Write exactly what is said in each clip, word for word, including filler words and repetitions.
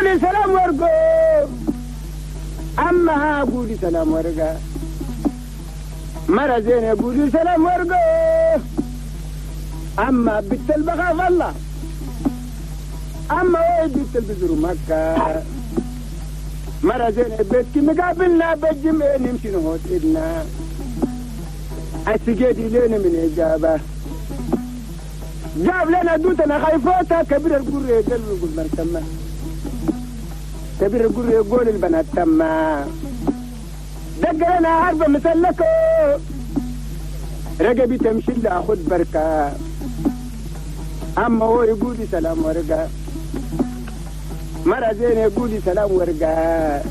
قولي سلام ورقو أما قولي سلام ورقة مرة زينة قولي سلام ورقو أما بنت البخاف الله أما وين بنت البزر مكة مرة زينة بيتك مقابلنا بالجمع نمشي نهوت إلنا السجادي لنا من إجابة جاب لنا دوتنا خايفوتا كبير القرية قال يقول من تما كبير القرية يقول البنات تما دق لنا عربة مسلكو رقبي تمشي لها خد بركة أما هو يقولي سلام ورقة مرة زين يقولي سلام ورقة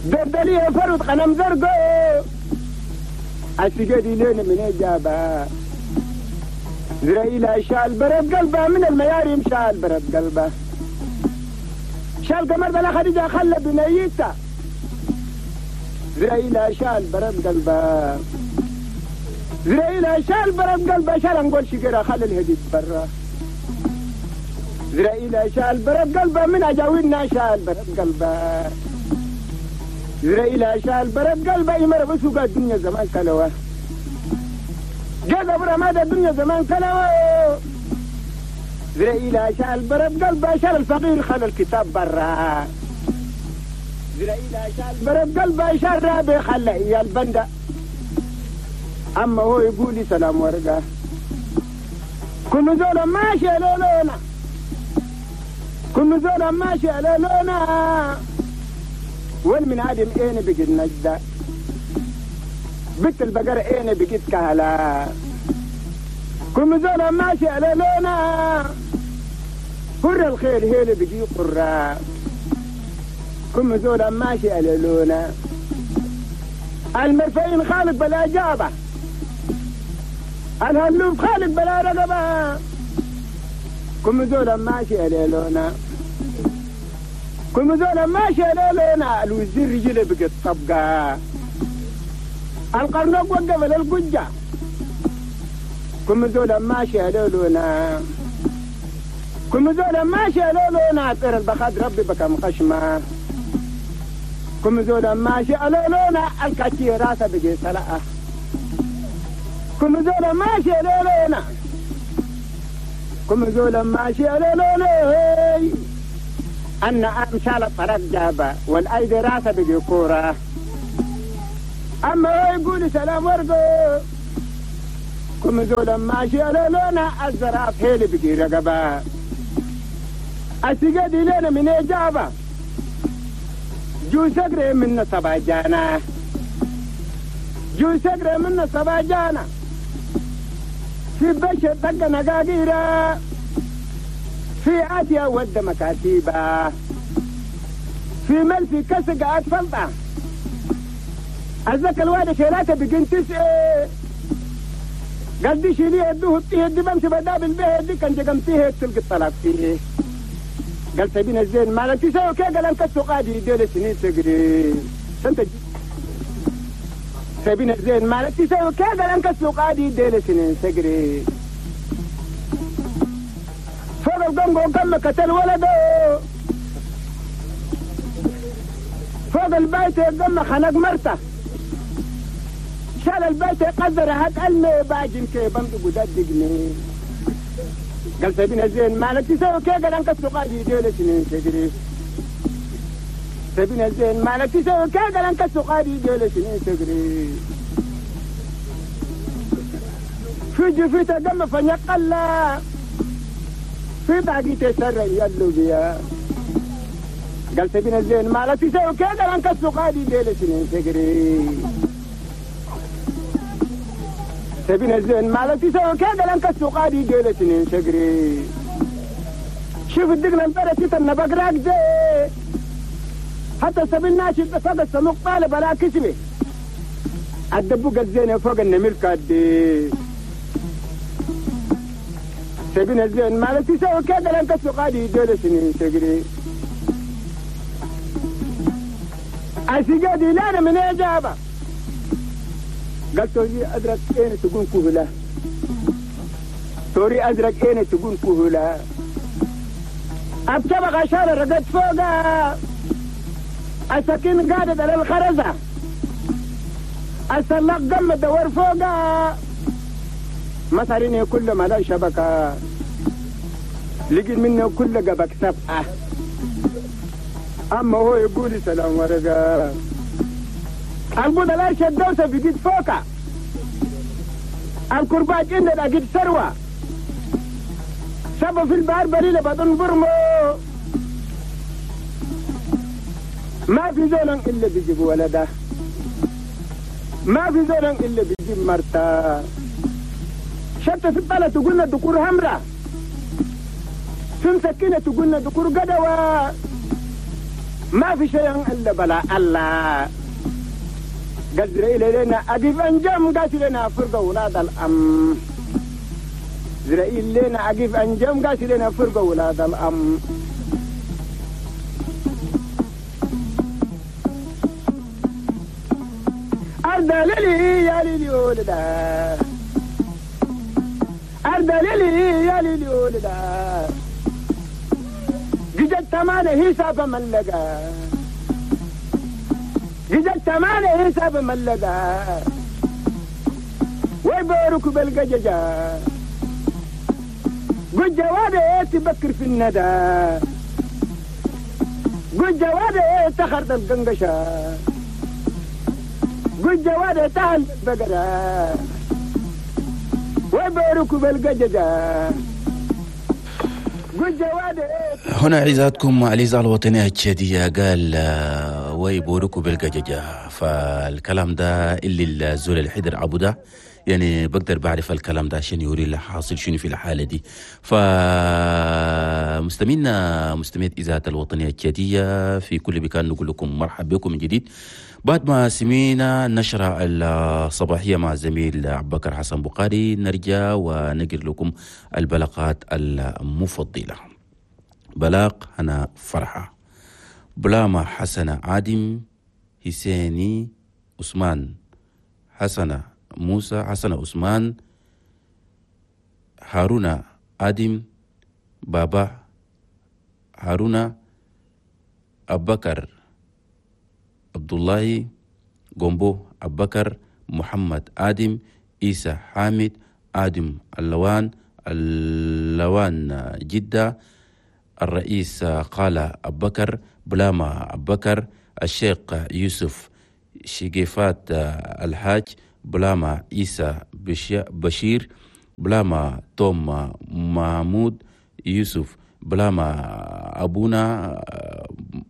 دردليه فرد قنم زرقو السجادي لنا من إجابة زرائيل شال برد قلبه من المياريم شال برد قلبه شال قمر بلا خديجة خلى بنيته زرائيل شال برد قلبه زرائيل شال برد قلبه شال نقول شجرة خلى الهديد برا زرائيل شال برد قلبه من أجاوينا شال برد قلبه زرائيل شال برد قلبه يمر بسوق الدنيا زمان كلوه جاب رماد الدنيا زمان كلوه زرائيل شال برد قلبه شال الفقير خلى الكتاب برا زرائيل شال برد قلبه شال رابي خلى إياه البندة أما هو يقول لي سلام ورقة كل زولا ماشي لولونا كل زولا ماشي لولونا وين من عدم اين بقيت نجدة بنت البقرة اين بقيت كهلا كل زولا ماشي لولونا قر الخير هيل بقي قرة كل زولا ماشي لولونا المرفعين خالق بلا جابة الهلوب خالق بلا رقبة كم زولا ماشي لولونا كم زولا ماشي لولونا الوزير رجله بقت طبقة القرنق وقف للقجة كم زولا ماشي لولونا كم زولا ماشي لولونا طير البخاد ربي بكم خشمة كم زولا ماشي لولونا الكاتي راسه بقي سلقة كم زولا ماشي لولونا كم زولا ماشي لولونا أن أمشال الطرق جابة والأيدي راسه بقي كورة أما هو يقول سلام ورقو كم زولا ماشي لولونا الزراف هيلي بقي رقبة السجادي لنا من إجابة جو سقري من صباجانا جو سقري من صباجانا في بشر طق نقاقيرة في آسيا ود مكاتيبة في ملفي كسق أطفلطة الزكا الواد شيلاته بقين تسعة قال دي شيليه يدوه الطيه دي بمشي بدابل بيه دي كان جقمتيه تلقي الطلاق فيه قال سبين الزين مالك تسوي كي قال انك قادي ديل سنين تقري سنت سبين الزين مالك تسوي كي قال انك قادي ديل سنين تقري فوق القنقو كم قتل ولده فوق البيت قم خنق مرته شال البيت قدر هات المي باجن كي بمدق وددقني قال سبين الزين مالك تسوي كي قال انك قادي ديل سنين تقري سبين الزين مالك تسوي كي قال انك قادي ديل سنين تقري في جفيته قم فنقلا في باقي تسرع يلو بيا قال سبين الزين مالك تسوي كي قال انك قادي ديل سنين تقري سبين الزين مالك تسوي كي قال انك قادي ديل سنين تقري شوف الدقن البرة تتنى بقراك زي حتى سبيل ناشد فوق السموق طالب على كسمي الدبوق الزين فوق النميل كادي سبين الزين مالك تسوي كي قال انك قادي ديل سنين تقري السجادي لا من إجابة قال توري أزرق أين تكون كهلة توري أزرق أين تكون كهلة الطبقة شال رقد فوقها السكين قادت على الخرزة السلاق قم الدور فوقها مثلين كل ما لا شبكة لقيت منه كل قبك سبعة أما هو يقول سلام ورقة البودة لا شدوسة بقيت فوقها الكرباج إن لقيت ثروة سبب في البحر بريلة بدون برمو ما في زول إلا بيجيب ولده ما في زول إلا بيجيب مرته شتى في الطلة تقولنا دكور همرة في مسكينة تقولنا دكور قدوة ما في شيء إلا بلا الله قدر إلينا أقف أنجم قاتل لنا فرقة ولاد الأم زرائيل لنا أقف أنجم قاتل لنا فرقة ولاد الأم أردللي يا ليلي ولدا أردللي يا ليلي ولدا جدت تمانة حساب ملقا جدت تمانة حساب ملقا ويبارك بالقججة قد جوادي تبكر في الندى قد جوادي تخرد القنقشة قد جوادي تهل البقرة ويبارك بالقججة هنا عزاتكم الإذاعة الوطنية التشادية قال ويبوركوا بالقججة. فالكلام ده اللي الزول الحدر عبو ده يعني بقدر بعرف الكلام ده عشان يوري اللي حاصل شنو في الحالة دي. فمستمعينا مستمعي إذاعة الوطنية التشادية في كل مكان نقول لكم مرحبا بكم من جديد بعد ما سمينا النشرة الصباحية مع الزميل عبد بكر حسن بخاري. نرجع ونقر لكم البلاغات المفضلة. بلاغ هنا فرحة بلاما حسنة عادم حسيني عثمان حسنة موسى حسن عثمان هارون آدم بابا هارون أبكر عبد الله جومبو أبكر محمد آدم إيسى حامد آدم اللوان اللوان جدة الرئيس قال أبكر بلاما أبكر الشيخ يوسف شقيفات الحاج بلاما عيسى بشير بلاما توم محمود يوسف بلاما أبونا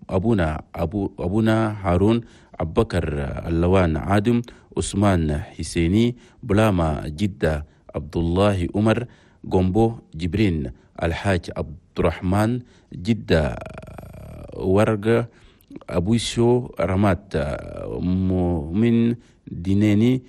أبونا أبو أبونا هارون أبكر اللوان عادم عثمان حسيني بلاما جدة عبد الله عمر جومبو جبرين الحاج عبد الرحمن جدة ورقة أبوشو رمات مؤمن ديناني